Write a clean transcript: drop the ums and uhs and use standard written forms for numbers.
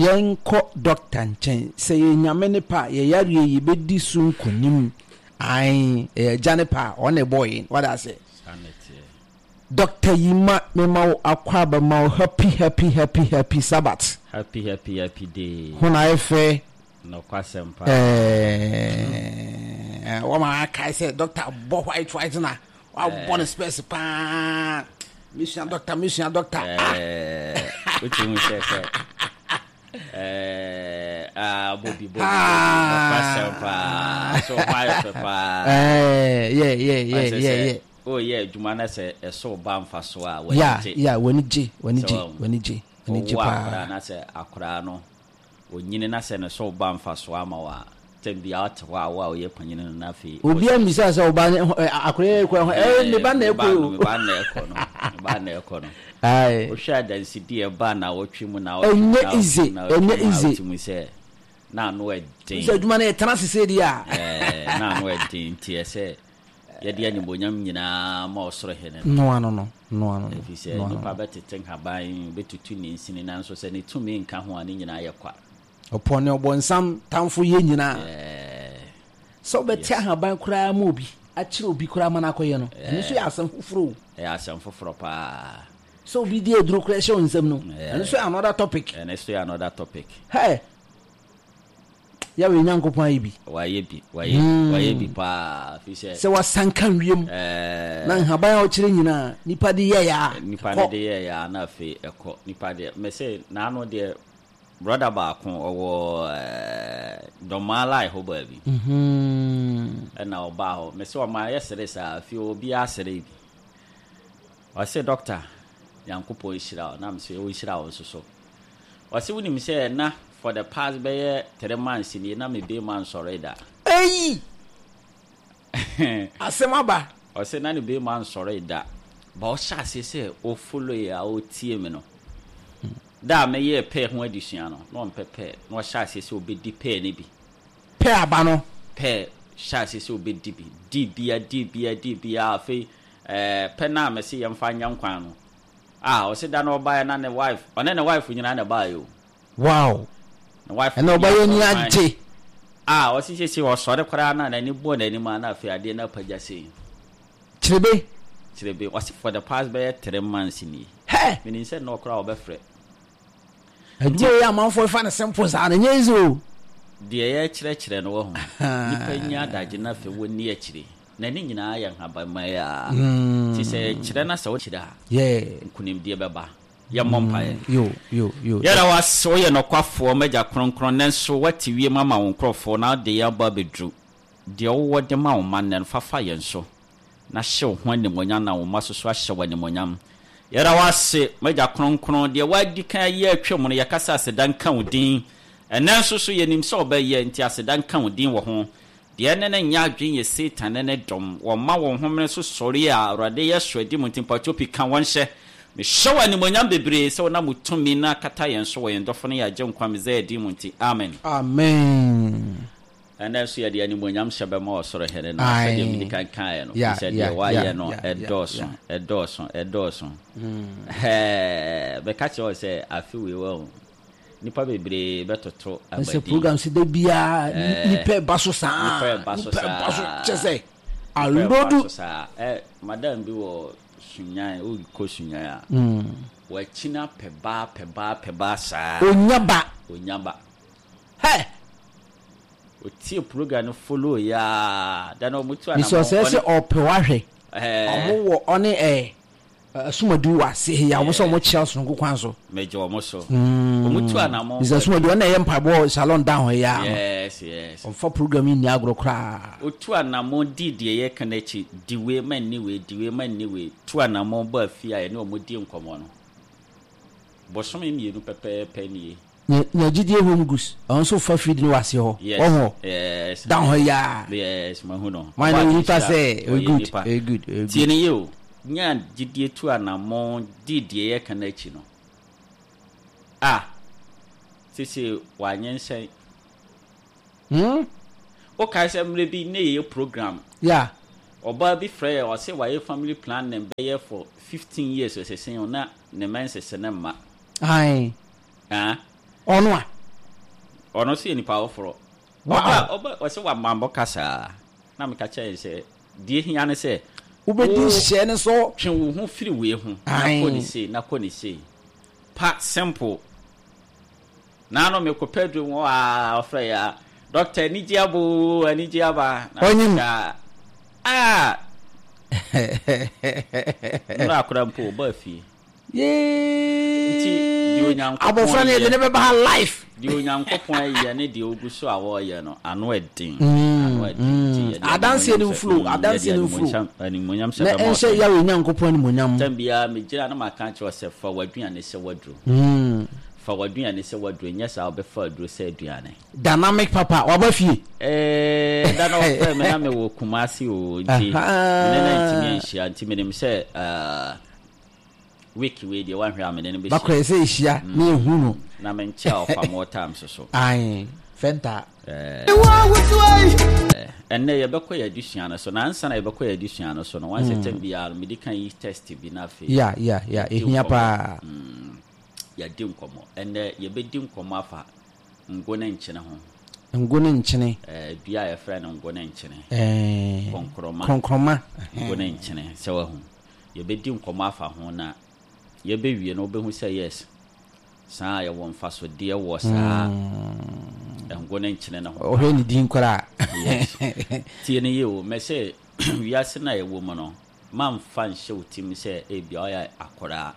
Yɛnkɔ dɔkta nkyɛn. Sɛ ɛyɛ Nyame ne pɛ a, yɛ yareɛ yi yɛbɛdi so nkonim. Ae, ɛyɛ Agya ne pɛ a, ɔno na ɛbɔɔ yɛn. Wate aseɛ? Saa na ɛteɛ. Doctor Yima mema wo akwaaba ma wo happy happy happy happy Sabbath. Happy happy happy day. Ho na ayɛ fɛ. Nokwasɛm paa. Ɛɛ wɔma akae sɛ doctor bɔ white white na wabɔ ne spɛs paa. Mesua doctor mesua doctor. Ah. Ɛɛ wotumi sɛ sɛ ɛɛ ah bɔ bi bɔ bi nokwasɛm paa. So ho ayɛ fɛ paa. Ɛɛ yeah yeah yeah yeah yeah. Woreyɛ adwuma na sɛ ɛso ba mfasoɔ a, w'ani Yeah, gye. yeah, w'ani gye, w'ani Sɛ gye, wahu. w'ani gye, w'ani gye Wɔwo paa. akwadaa na sɛ akwadaa no, ɔnyini na sɛ ne so ba mfasoɔ ama wo a, tɛm biara wote hɔ a, wo a woyɛ panyini no na afei Obiara mmisa sɛ wo ba ne ho, ɛ, akwadaa yi kɔ ɛho, ɛ, me ba na me ɛkɔ ba no, o. me ba na ɛkɔ no, me ba na ɛkɔ no. Aye. Wohwɛ adansedie a ɛba nnawɔtwe mu, nnawɔtwe mu, Ɛnyɛ nnawɔtwe mu, easy, nnawɔtwe ɛnyɛ mu a, easy. wotumi sɛ na ano ɛden. Sɛ adwuma no yɛtena ase sei deɛ a. Ɛɛ, na ano ɛden nti ɛsɛ Yɛde animuonyam nyinaa ma ɔsoro Hene no. Noa no no, noa no no, Ɛfiri sɛ noa no nipa no. bɛtete nhaban, bɛtutu ne nsini, nanso sɛ ne tumi nka ho a, ne nyinaa yɛ kwa. Ɔpɔ ne ɔbɔnsam tamfo yɛ nyinaa. Yeah. Sɛ wobɛte Yes. ahaban koraa ma obi, akyerɛ obi koraa ma no akɔyɛ no, ɛno nso yɛ asɛm foforɔ o. Ɛyɛ asɛm foforɔ paa. Sɛ obi di aduro koraa hyɛ wo nsam no, Yeah. ɛno nso yɛ another topic. Ɛno nso yɛ another topic. Hey! Yahweh Nyankopɔn ayɛ bi. Wayɛ bi, wayɛ bi, wayɛ bi paa. Fi sɛ. Sɛ wasanka wiem. Ɛɛ. Na nhaban a ɔkyerɛ nyinaa, nipa de yɛɛ a. Nipa no de yɛɛ a na afei ɛkɔ. Nipa deɛ, mese n'ano deɛ, brɔda baako ɔwɔ ɛɛ Dɔmaa line hɔ baabi. Ɛna ɔbaa hɔ, mese ɔma yɛ sere saa, afei obiara sere bi. Ɔse doctor, Nyankopɔn nhyira wo, na mese ɔnhyira wo nso so. Ɔse wonim sɛ na for the past bɛyɛ three months nie na me beema nsɔree da. Eii! Asɛm aba. Ɔse na ne beema nsɔree da but ɔhyɛ aseɛ sɛ o follow yɛ a ɔtie me no da a mɛyɛɛ pear ho adesua no na ɔmpɛ pear na ɔhyɛ aseɛ sɛ ɔbɛdi pear no bi. Pear aba no. Pear hyɛ aseɛ sɛ ɔbɛdi bi, di bia di bia di bia afei ɛɛ pɛ no a mese yɛmfa nyɛ nkwan no Ah ɔse da no ɔbaeɛ na ne wife ɔne ne wife nyinaa na ɛbaeɛ o. Wow Ne wife ɛna ɔbaeɛ ani agye. Ah ɔse sese ɔsɔre koraa na n'ani bɔ n'anim a na afei adeɛ no apagya sei. Kyerebe. Kyerebe ɔse for the past bɛyɛ 3 months nie. Hɛ! Menim sɛ nnɛ koraa ɔbɛfrɛ. Adwuma yi amanfoɔ fa no simple saa no ɛnyɛ easy o. Deɛ yɛkyerɛkyerɛ no wahu. Nipa nya adagye na afei wɔnni akyire. Na ne nyinaa yɛ nhabamma yi ara. Nti sɛ yɛkyerɛ na sɛ wokyerɛ a, nkunimdie bɛba. Yɛmmɔ mpaeɛ. Yɛda wo ase, woyɛ nɔkwafoɔ, m'Agya Kronkron, nanso woate wiem ama wo nkurɔfoɔ na wode yɛn aba abɛduru. Deɛ wowɔ de ma wo mma nnɛ no, fa fa yɛn so, na hyɛ wo ho animuonyam na wo mma nso so ahyɛ wo animuonyam. Yɛda wo ase, m'Agya Kronkron, deɛ woadi kan ayɛ atwam no, yɛka sɛ aseda nka wo din. Ɛnnɛ nso so, yɛnim sɛ wobɛyɛ, nti aseda nka wo din wɔ ho. Deɛ ɛne no nyɛ adwene yɛ Satan ne ne dɔm. Wɔma wɔn homene so sɔre a, Awurade yɛ so adi mu nti mpakyɛw pii ka wɔn hyɛ. Mehyɛ wo animuonyam bebree sɛ wonam wo tumi no akata yɛn so wɔ yɛn dɔfo ne yɛn Agyenkwa Mesaia din mu nti, amen. Amen. Ɛnnɛ nso yɛde animuonyam hyɛ bɛma Ɔsoro Hene no, sɛdeɛ medi kan kaeɛ no, ɛfiri sɛ deɛ wayɛ no ɛdɔɔso, ɛdɔɔso, ɛdɔɔso. Ɛɛ, meka kyerɛ wo sɛ afe wei wahu, Nnipa bebree bɛtoto abadin. Sɛ program si da biara nipa ɛba so saa. Nipa ɛba so saa. Nipa ɛba so kyɛ sɛ alodu. Nipa ɛba so saa. Ɛ madam bi wɔ Sunyan, wokɔ Sunyan a. Wakyina pɛ ba pɛ ba pɛ ba saa. Onya ba. Onya ba. Hɛ. Otie program no follow yaa. Da na ɔmo tu anamɔ. Nisɛ ɔsɛ sɛ ɔpɛ wahwɛ. Ɔmo wɔ ɔne ɛ. Asumadu wɔ ase he a wɔn sɛ wɔn kyerɛ sononko kwan so. Megye wɔn so. Wɔn tu anamɔn. Mr. Asumadu ɔno na ɛyɛ mpaebɔ salon down hɔ yi ara no. Yes, yes. Ɔmfa program yi nni agorɔ koraa. Otu anamɔn dii deɛ yɛka no akyi, di wei ma nni wei, di wei ma nni wei, tu anamɔn baa fie a yɛne wɔn di nkɔmmɔ no. Bosome mmienu pɛpɛɛpɛ nie. Nya nya gyidie home goods ɔno nso fa feed no wɔ aseɛ hɔ Yes, wɔn hɔ yes. down hɔ yi ara. Yes, mahu no. Wɔn Ɔbaa ne nipa Asia, sɛ ɔyɛ ɛyɛ good nipa. ɛyɛ good ɛyɛ Tie good. no yie o, nya gyidie tu anammɔn di deɛ yɛka no akyi no, ah, seesei wanyensɛn. Hmm? Wokae sɛ mmerɛ bi na yɛyɛ program, Yeah. ɔbaa bi frɛɛ yɛn, ɔse wayɛ family planning bɛyɛ for 15 years ɔsese o, na ne menses no mma. Ae. Ah. Ɔno a. Ɔno nso yɛ nipa foforɔ. Wow. Ɔba ɔba ɔsɛ wamambɔ kasaa na meka kyerɛ no sɛ deɛ hia ne sɛ Wobɛdi wo nhyehyɛɛ no so. twe wo ho firi wei ho na kɔ ne sei na kɔ ne sei pa simple. Naano mekɔ pɛ aduro mu aa ɔfrɛ yɛ a doctor anigye aba oo anigye aba na Ɔnyim. meka aa nnora akora mpo ɔbaa fie. Nti deɛ Yee. Onyankopɔn Abɔfra no yɛde yɛ ne bɛba ha life. Deɛ Onyankopɔn yɛ ne deɛ ɔgu so a wɔreyɛ no ano ɛden ano ɛden nti yɛde Adanseɛ animuonyam no hyɛ mflow yɛde adanseɛ no mflow animuonyam animuonyam hyɛ na bɛma ɛnhyɛ ɔsɛe. Yahweh Nyankopɔn animuonyam. Tɛm biara megyina na maka akyerɛ wo sɛ fa w'aduane sɛ w'aduro. Fa w'aduane sɛ w'aduro nyɛ saa wobɛfa aduro sɛ aduane. Dynamic papa waba fie. Eeii da no ɔfrɛɛ me na mewɔ Kumasi oo nti me ne no antumi anhyia nti menim sɛ ah, week wei deɛ wanhwɛ a me ne no bɛhyia. Bakɔ ɛsɛ ehyia na ehu no. Na menkyɛ a ɔfa more time so so. Ae fɛnta. Ɛnnɛ yɛbɛkɔ yɛn adesua no so na ansa na yɛbɛkɔ yɛn adesua no so no wɔn sɛ tɛm biara no medi kan yi test bi na afei. Ya ya ya yɛdi ehia nkɔmmɔ. paa. Yɛadi nkɔmmɔ. Ɛnnɛ yɛbɛdi nkɔmmɔ afa ngo ne nkyene ho. Ngo ne nkyene. Ɛɛ dua a yɛfrɛ no ngo ne nkyene. Ɛɛ. Kɔnkrɔma. Kɔnkrɔma. Ngo ne nkyene sɛ wahu. Yɛbɛdi nkɔmmɔ afa ho na yɛbɛwie no wobɛhu sɛ yes saa yɛwɔ mfasodeɛ wɔ saa ngo ne nkyene no ho. Ɔhwɛ ne din koraa. Yes. Tie no yie o. Mɛsɛ wiase no a yɛwɔ mu no mamfa nhyɛ wo tirim sɛ ebia ɔyɛ akwadaa.